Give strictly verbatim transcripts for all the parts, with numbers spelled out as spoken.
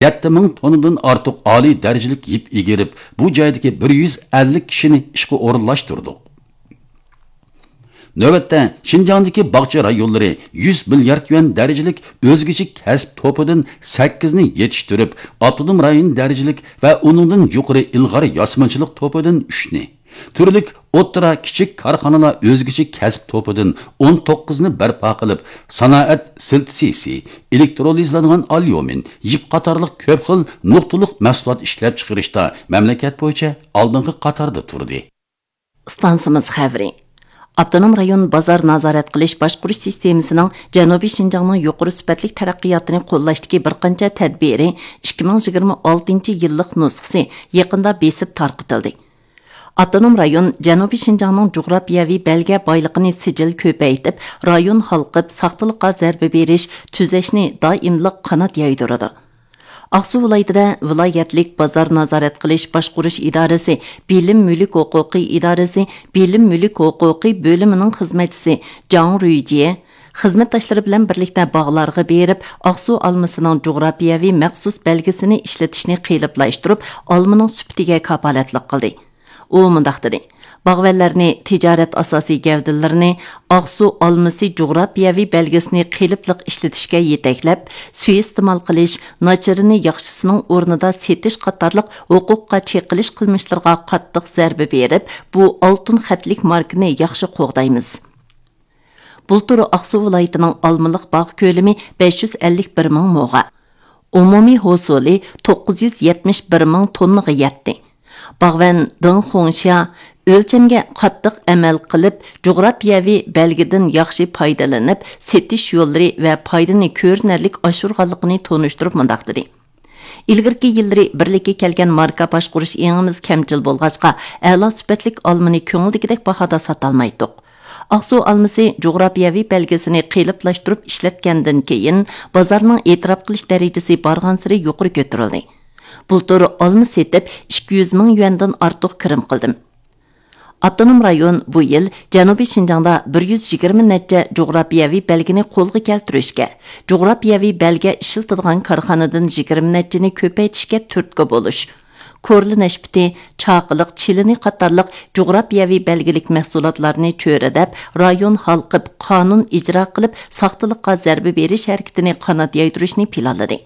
يەتتە مىڭ توننىدىن ئارتۇق ئالىي دەرىجىلىك يىپ ئىگىرىپ، بۇ جايدىكى بىر يۈز ئەللىك كىشىنى ئىشقا ئورۇنلاشتۇردۇق. نۆۋەتتە، شىنجاڭدىكى باغچە رايونلىرى يۈز مىليارد يۈەن دەرىجىلىك ئۆزگىچە كەسىپ توپىدىن سەككىزنى يېتىشتۈرۈپ، ئاپتونوم رايون دەرىجىلىك ۋە ئۇنىڭدىن يۇقىرى ئىلغار ياسىمىچىلىق توپىدىن ئۈچنى، تۈرلۈك ئوتتۇرا، كىچىك كارخانىلار ئۆزگىچە كەسىپ توپىدىن ئون توققۇزنى بەرپا قىلىپ، سانائەت سىنتېزىسى، ئېلېكترولىزلانغان ئاليۇمىن، يىپ قاتارلىق كۆپ خىل نۇقتىلىق مەھسۇلات ئىشلەپچىقىرىشتا مەملىكەت بويىچە ئالدىنقى قاتاردا تۇردى. ئىستانسىمىز خەۋىرى. ئاپتونوم رايون بازار نازارەت قىلىش باشقۇرۇش سىستېمىسىنىڭ جەنۇبىي شىنجاڭنىڭ يۇقىرى سۈپەتلىك تەرەققىياتىنى قوللاشتىكى بىر قانچە تەدبىرى ئىككى مىڭ يىگىرمە ئالتىنچى يىللىق نۇسخىسى يېقىندا بېسىپ تارقىتىلدى. ئاپتونوم رايون جەنۇبىي شىنجاڭنىڭ جۇغراپىيەۋى بەلگە بايلىقىنى سىجىل كۆپەيتىپ، رايون ھالقىپ ساختىلىققا زەربە بېرىش، تۈزەشنى دائىملىق قانات يايدۇرىدۇ. ئاقسۇ ۋىلايىتىدە ۋىلايەتلىك بازار نازارەت قىلىش باشقۇرۇش ئىدارىسى بىلىم مۈلۈك ھوقۇقى ئىدارىسى بىلىم مۈلۈك ھوقۇقى بۆلۈمىنىڭ خىزمەتچىسى جاڭ رۇيجيې خىزمەتداشلىرى بىلەن بىرلىكتە باغلارغا بېرىپ، ئاقسۇ ئالمىسىنىڭ جۇغراپىيەۋى مەخسۇس بەلگىسىنى ئىشلىتىشنى قېلىپلاشتۇرۇپ، ئالمىنىڭ سۈپىتىگە كاپالەتلىك قىلدى. ئۇ مۇنداق دېدى: باغۋەنلەرنى تىجارەت ئاساسىي گەۋدىلىرىنى ئاقسۇ ئالمىسى جۇغراپىيەۋى بەلگىسىنى قېلىپلىق ئىشلىتىشكە يېتەكلەپ، سۇيىئىستېمال قىلىش، ناچىرىنى ياخشىسىنىڭ ئورنىدا سېتىش قاتارلىق ھوقۇققا چېقىلىش قىلمىشلىرىغا قاتتىق زەربە بېرىپ، بۇ ئالتۇن خەتلىك ماركىنى ياخشى قوغدايمىز. بۇلتۇر ئاقسۇ ۋىلايىتىنىڭ ئالمىلىق باغ كۆلىمى بەش يۈز ئەللىك بىر مىڭ موغا. ئومۇمىي ھوسۇلى توققۇز يۈز يەتمىش بىر مىڭ توننىغا يەتتى. باغۋەن دېڭ خۇڭشيا ئۆلچەمگە قاتتىق ئەمەل قىلىپ، جۇغراپىيەۋى بەلگىدىن ياخشى پايدىلىنىپ، سېتىش يوللىرى ۋە پايدىنى كۆرۈنەرلىك ئاشۇرغانلىقىنى تونۇشتۇرۇپ مۇنداق دېدى: ئىلگىرىكى يىللىرى بىرلىككە كەلگەن ماركا باشقۇرۇش ئېڭىمىز كەمچىل بولغاچقا، ئەلا سۈپەتلىك ئالمىنى كۆڭۈلدىكىدەك باھادا ساتالمايتتۇق. ئاقسۇ ئالمىسى جۇغراپىيەۋى بەلگىسىنى قېلىپلاشتۇرۇپ ئىشلەتكەندىن كېيىن، بازارنىڭ ئېتىراپ قىلىش دەرىجىسى بارغانسېرى يۇقىرى كۆتۈرۈلدى. بۇلتۇر ئالما سېتىپ، ئىككى يۈز مىڭ يۈەندىن ئارتۇق كىرىم قىلدىم. ئاپتونوم رايون بۇ يىل جەنۇبىي شىنجاڭدا بىر يۈز يىگىرمە نەچچە جۇغراپىيەۋى بەلگىنى قولغا كەلتۈرۈشكە، جۇغراپىيەۋى بەلگە ئىشلىتىدىغان كارخانىدىن يىگىرمە نەچچىنى كۆپەيتىشكە تۈرتكە بولۇش، كورلا نەشپۈتى، چاقىلىق چىلىنى قاتارلىق جۇغراپىيەۋى بەلگىلىك مەھسۇلاتلارنى چۆرىدەپ، رايون ھالقىپ قانۇن ئىجرا قىلىپ، ساختىلىققا زەربە بېرىش ھەرىكىتىنى قانات يايدۇرۇشنى پىلانلىدى.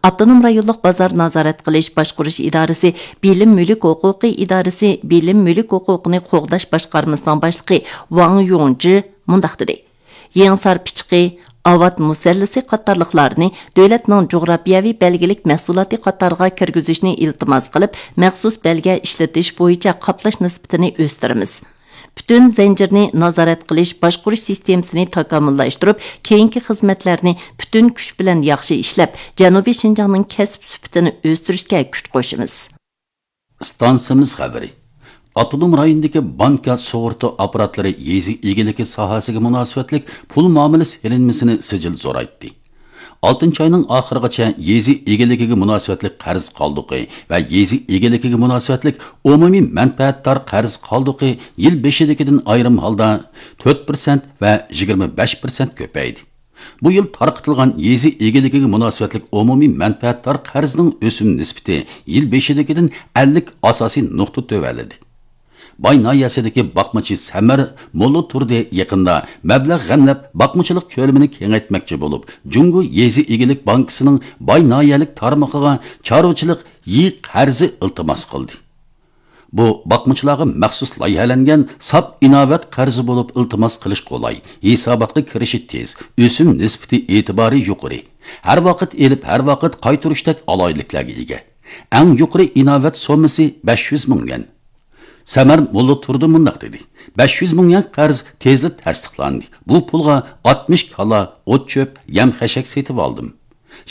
ئاپتونوم رايونلۇق بازار نازارەت قىلىش باشقۇرۇش ئىدارىسى بىلىم مۈلۈك ھوقۇقى ئىدارىسى بىلىم مۈلۈك ھوقۇقىنى قوغداش باشقارمىسىنىڭ باشلىقى ۋاڭ يۇڭجى مۇنداق دېدى: يېڭىسار پىچىقى، ئاۋات مۇسەللىسى قاتارلىقلارنى دۆلەتنىڭ جۇغراپىيەۋى بەلگىلىك مەھسۇلاتى قاتارىغا كىرگۈزۈشنى ئىلتىماس قىلىپ، مەخسۇس بەلگە ئىشلىتىش بويىچە قاپلاش نىسبىتىنى ئۆستۈرىمىز. پۈتۈن زەنجىرنى نازارەت قىلىش، باشقۇرۇش سىستېمىسىنى تاكامۇللاشتۇرۇپ، كېيىنكى خىزمەتلەرنى پۈتۈن كۈچ بىلەن ياخشى ئىشلەپ، جەنۇبىي شىنجاڭنىڭ كەسىپ سۈپىتىنى ئۆستۈرۈشكە كۈچ قوشىمىز. ئىستانسىمىز خەۋىرى. ئاپتونوم رايوندىكى بانكا سۇغۇرتا ئاپپاراتلىرى يېزا ئىگىلىكى ساھەسىگە مۇناسىۋەتلىك پۇل مۇئامىلە سېلىنمىسىنى سىجىل زورايتتى. ئالتىنچى ئاينىڭ ئاخىرىغىچە يېزا ئىگىلىكىگە مۇناسىۋەتلىك قەرز قالدۇقى ۋە يېزا ئىگىلىكىگە مۇناسىۋەتلىك ئومۇمىي مەنپەئەتدار قەرز قالدۇقى يىل بېشىدىكىدىن ئايرىم ھالدا تۆت پىرسەنت ۋە يىگىرمە بەش پىرسەنت كۆپەيدى. بۇ يىل تارقىتىلغان يېزا ئىگىلىكىگە مۇناسىۋەتلىك ئومۇمىي مەنپەئەتدار قەرزنىڭ ئۆسۈم نىسبىتى يىل بېشىدىكىدىن ئەللىك ئاساسىي نۇقتا تۆۋەنلىدى. باي ناھىيەسىدىكى باقمىچى سەمەر موللا تۇردى يېقىندا مەبلەغ غەملەپ باقمىچىلىق كۆلىمىنى كېڭەيتمەكچى بولۇپ، جۇڭگو يېزا ئىگىلىك بانكىسىنىڭ باي ناھىيەلىك تارمىقىغا چارۋىچىلىق يېڭى قەرزى ئىلتىماس قىلدى. بۇ باقمىچىلارغا مەخسۇس لايىھەلەنگەن ساپ ئىناۋەت قەرزى بولۇپ، ئىلتىماس قىلىش قولاي، ھېساباتقا كىرىشى تېز، ئۆسۈم نىسبىتى ئېتىبارى يۇقىرى، ھەر ۋاقىت ئېلىپ، ھەر ۋاقىت قايتۇرۇشتەك ئالاھىدىلىكلەرگە ئىگە. ئەڭ يۇقىرى ئىناۋەت سوممىسى بەش يۈز مىڭ يۈەن. سەمەر موللا تۇردى مۇنداق دېدى: بەش يۈز مىڭ يۈەن قەرز تېزلا تەستىقلاندى. بۇ پۇلغا ئاتمىش كالا، ئوت-چۆپ، يەم-خەشەك سېتىۋالدىم.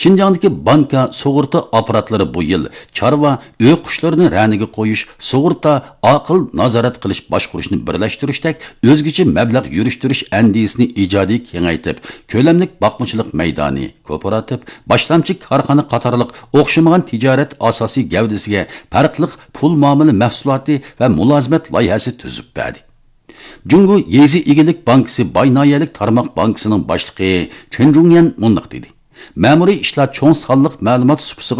شىنجاڭدىكى بانكا سۇغۇرتا ئاپپاراتلىرى بۇ يىل چارۋا، ئۆي قۇشلىرىنى رەنىگە قويۇش، سۇغۇرتا، ئاقىل نازارەت قىلىش باشقۇرۇشنى بىرلەشتۈرۈشتەك ئۆزگىچە مەبلەغ يۈرۈشتۈرۈش ئەندىزىسىنى ئىجادىي كېڭەيتىپ، كۆلەملىك باقمىچىلىق مەيدانى، كوپىراتىپ، باشلامچى كارخانا قاتارلىق ئوخشىمىغان تىجارەت ئاساسىي گەۋدىسىگە پەرقلىق پۇل مۇئامىلە مەھسۇلاتى ۋە مۇلازىمەت لايىھەسى تۈزۈپ بەردى. جۇڭگو يېزا ئىگىلىك بانكىسى باي ناھىيەلىك تارماق بانكىسىنىڭ باشلىقى چېن جۇڭيەن مۇنداق دېدى: مەمۇرىي ئىشلار چوڭ سانلىق مەلۇمات سۇپىسىغا